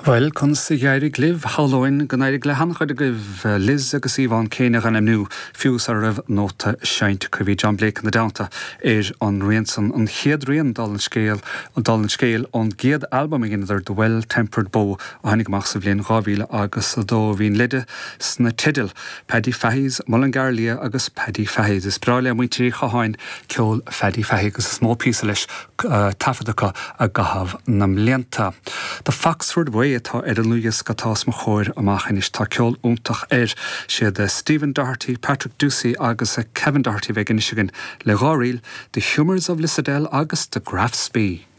Bhuel, conas a d'éirigh libh? Shamhlóinn go n-éirigh le han-chuid agaibh Liz agus Yvonne Kane a dh'ainmniú, fiú sara raibh nóta seinnte acu. Bhí John Blake ina dteannta ar an rian san, an chéad rian, dála an scéil, dála an scéil, ón gcéad albam a dheineadar, The Well Tempered Bow, a tháinig amach sa bhliain 2000 agus 2. Bhí an leide sna teidil, Paddy Fahy's Mullingar Liath agus Paddy Fahy's. Is breá le muintir Uí Chatháin ceol Phaddy Fahy agus is mó píosa leis taifeadta acu i gcaitheamh na mblianta. The Foxford Way atá ar an ndlúthdhiosca atá os mo chomhair amach anois. Tá ceol iontach air. Siad Stephen Doherty, Patrick Ducey agus Kevin Doherty a bheidh anois againn le dá ríl, The Humours of Lissadell agus The Graffs Bee.